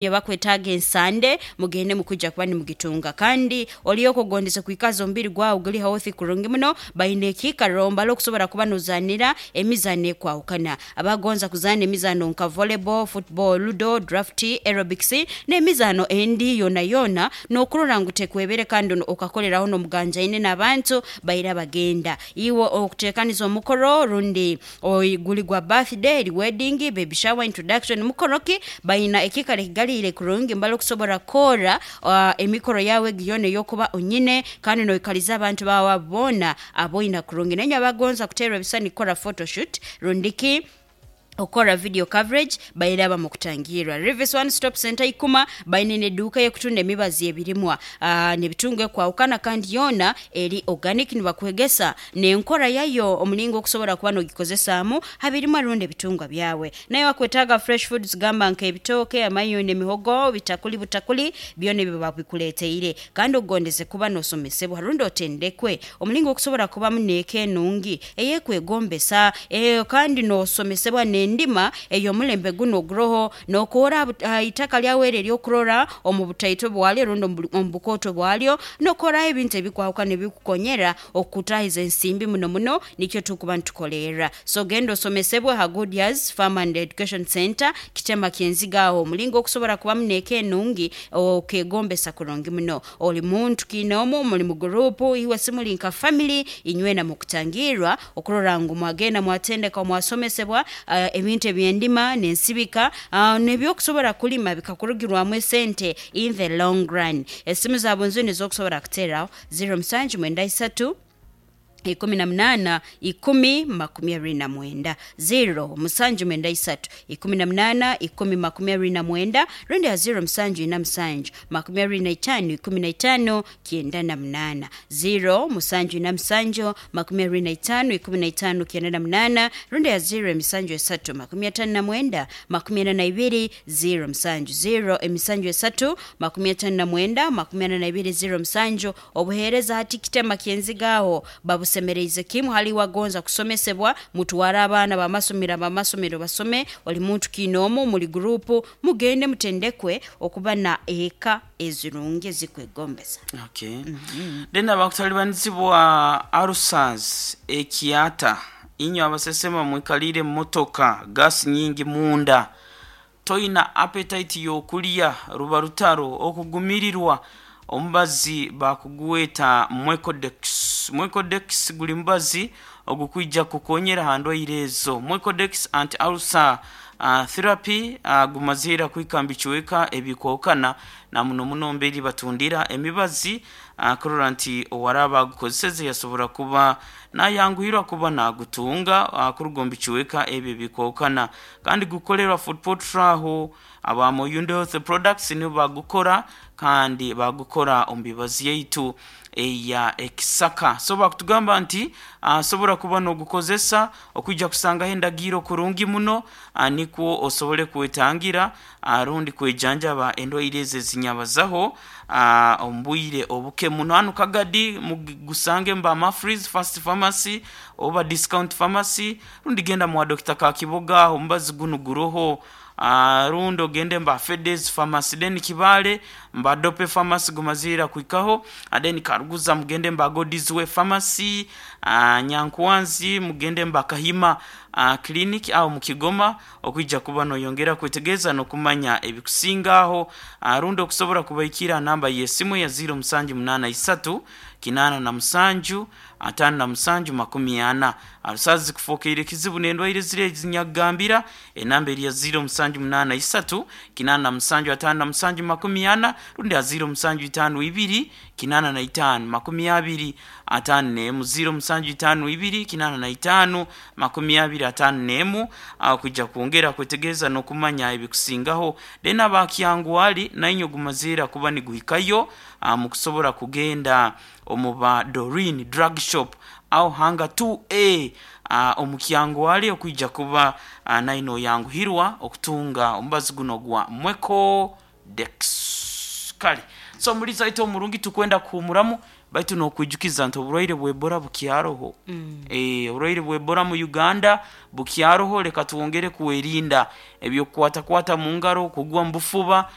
Bakwetaaga ensande, mugende mukwija kuba nimugitunga. Kandi oliyo okugondeze kwikaza omubiri gwawe guli healthy kurungi muno, baine ekiikaro mbali okusobora kuba nozaanira emizaano ekwahukana. Abagonza kuzaana emizaano nka volleyball, football, ludo, draft, aerobics n'emizaano endi yoona yoona n'okurora ngu tekwebere kandi okakoleraho n'omuganjaine n'abantu baira bagenda. Iwe okuteekaniza omukoro rundi guli gwa birthday, eri wedding, baby shower, introduction, mukoro ki, baina ekiikaro ekigaliire kurungi mbali okusobora kukora emikoro yaawe egi yoona ey'okuba onyine kandi noikaliza abantu baawe abo boona aboina kurungi. Nainywe abagonza kuteerwa ebisani kukora photoshoot rundi ki okukora video coverage bairaba mu kutangirra. Rivis One Stop Centre Ikuma baine n'eduuka ey'okutunda emibazi y'ebirimwa n'ebitungo ekwahukana kandi yoona eri organic nibakwegesa n'enkora yayo omulingo okusobora kuba n'ogikozesaamu ha birimwa rundi ebitungwa byawe. Naye wakwetaaga fresh foods gamba nk'ebitooke, amayuni, emihogo, bitakuli butakuli, byona ebyo babikuleeteire. Kandi ogondeze kuba n'osomesebwa rundi otendekwe omulingo okusobora kubamu n'eka enungi ey'ekwegombesa kandi n'osomesebwa n'endima ey'omulembe gunu oguroho n'okoora ha itaka lyawe eri ery'okurora omu butaito bwalyo rundi omu bukooto bwalyo n'okoraho ebintu ebikwahukana ebikukonyera okukutaahiza ensimbi muno muno nikyo tukuba nitukolerra. So genda osomesebwe ha Goodyears Farm and Education Centre Kitema Kyenziga aho omulingo okusobora kubamu n'eka enungi okegombesa kurungi muno. Oli muntu kiinoomu, muli mu guruupu, iwe simuli nka family, inywena mukutangirra okurora ngu mwagenda mwatendekwa mwasomesebwa ebintu eby'endima n'ensibika n'ebyokusobora kulima bikakurugirwamu esente in the long run. Esimu za bunzuni ez'okusobora kuteeraho, ziro musanju mwenda isatu, ikumi na munaana, ikumi makumi abiri na mwenda. Ziro musanju mwenda isatu, ikumi na munaana, ikumi makumi abiri na mwenda, rundi ha ziro musanju ina musanju, makumi abiri na itaano, ikumi na itaano, kyenda na munaana. Ziro musanju ina musanju, makumi abiri na itaano, ikumi na itaano, kyenda na munaana, rundi ha ziro emisanju esatu, makumi ataano na mwenda, makumi ana na ibiri, ziro musanju. Ziro emisanju esatu, makumi ataano na mwenda, makumi ana na ibiri, ziro musanju. Obuheereza hati kitema ky'enziga agho babusemereize kimu. Hali iwe agonza kusomesebwa, mutware abaana b'amasomero ab'amasomero basome, oli muntu kiinoomu, muli guruupu, mugende mutendekwe okuba na eka ezirungi ezikwegombesa. Okay. Then abakutalibanizibwa ulcers, ekiata, inywe abasesema mwikaliire mu motoka, gas nyingi munda, toina appetite y'okulya, ruba rutaro, okugumirirwa, omubazi bakugweta Mwecodex. Mwecodex guli mubazi ogukwija kukukonyera ha ndwaire ezo. Mwecodex anti-ulcer therapy gumaze ira kuhika mu bicweka ebikwahukana na muno muno mberi batundira emibazi kurora nti owaraaba agukozeseze yasobora kuba nayanguhirwa kuba nagutunga kuruga omu bicweka ebyo ebikwahukana. Kandi gukukolerwa Fort Portal aho aba Moyundo Health Products nibo bagukora kandi bagukora omu mibazi yaitu eya ekisaka. So bakutugamba nti asobora kuba nogukozesa okwija kusangaho endagiiro kurungi muno nikwo osobole kwetangira rundi kwejanjaba endwaire ezo ezinyabazaho omu bwire obuke muno. Hanu Kagadi mugusange mu ba Mafrees First Pharmacy oba Discount Pharmacy rundi genda mwa Dokita Kakiboga aho omubazi gunu guroho. Rundi ogende mba Fedes Pharmacy then Kibaale mba Dope Pharmacy gumaze ira kuhikaho then Karuguza mugende mba God's Way Pharmacy, Nyankwanzi mugende mba Kahima Clinic aho mu Kigoma okwija kuba noyongera kwetegereza n'okumanya ebikusinga aho rundi okusobora kubaikira ha namba y'esimu eya ziiro musanju munaana isatu kinaana na musanju ataano na musanju makumi ana. Arusazi zikufokeire kizibu n'endwaire ziri ezinyakugambira, enamba eri ya ziiro musanju munaana isatu, kinaana na musanju ataano na musanju makumi ana, rundi ha ziiro musanju itaano ibiri, kinaana na itaano makumi abiri ataano n'emu, ziiro musanju itaano ibiri, kinaana na itaano makumi abiri ataano n'emu, aho kwija kwongera kwetegereza n'okumanya ebikusingaho. Then aba Kyangwali nainywe gumazeera kuba niguhikayo mukusobora kugenda omu ba Doreen Drug Shop agho hanga 2A omu Kyangwali okwija kuba naine oyanguhirwa okutunga omubazi guno ogwa Mweco Dex. Kale so omulizi waitu omurungi tukwenda kuhumuramu. Baitu nokwijukiza nti oburwaire bw'Ebola bukyaroho. Oburwaire bw'Ebola mu Uganda bukyaroho. Leka twongere kwerinda ebyokukwatakwata mu ngaro, kugwa mu bufuba.